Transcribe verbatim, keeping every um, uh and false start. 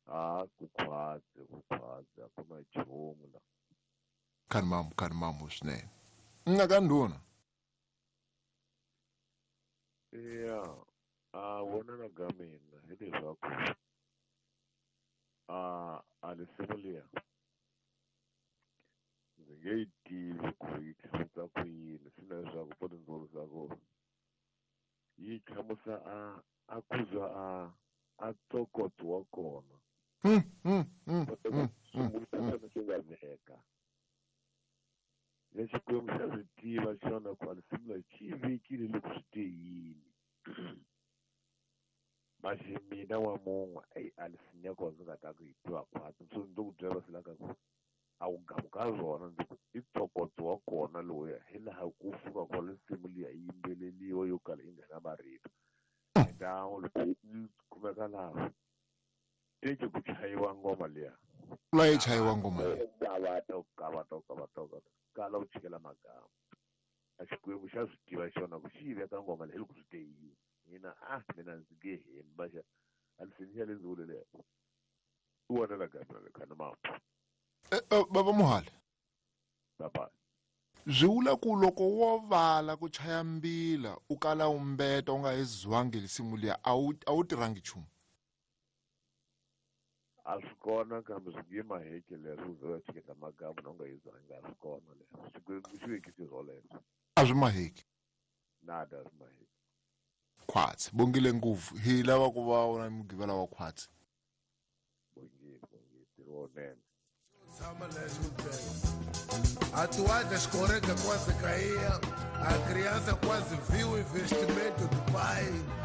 A ku khwatsi ku khwatsi a ku na nchumu la. Khani mamu khani mamu swinene. Nna ka ndhuna. Ya, a vonela ka mina hileswaku a a risimu liya ndzi nge yi tivi ku yi hlamusela ku yini swi na leswaku po ndzi vurisa ku yi hlamusela a a ku za a a ntokoto wa kona. Mm, mm, mm, mm, Sungula xona xi nga veka le Xikwembu xa swi tiva xona ku a risimu leri xi yi vekile loko swi te yini. Maxi mina wa mun'we eyi a risimu ya kona ndzi nga ta ku yi tiva khwatsi so ndzi ku byela swi la ka ku a wu gamu ka rona ndzi ku i ntokoto wa kona lowuya hi laha ku fika kona risimu liya yi yimbeleliwa yo kala yi nga na marito. Xikan'we loko yi kumeka laha teke ku chayiwa ngoma liya. La yi chayiwa ngoma liya. Gavato gavato gavato kala u chikela magama. A Xikwembu xa swi tiva xona ku xi yi veka ngoma leyi loko swi te yini. Mina a mina ndzi nge hembi vaxa a risimu ya le ndzi vule leyo. U vonela ka mina le khani mamu. Baba Muhali. Baba. Swi vula ku loko wo vala ku chaya mbila u kala u mbeta u nga yi zwangi risimu liya a wu a wu tirhangi nchumu. A swi kona kambe swi nge maheke leswo u ze u chiketa magamu na u nga yi zwangi a swi kona leswo. Xikwembu xi vekise swoleswo. A swi maheki. Nada a swi maheki. Khwatsi bongile ngopfu hi lava ku va u na mugqivela wa khwatsi. Bongile bongile ntirho wunene. A toalha escorrega, quase caía. A criança quase viu o investimento do pai.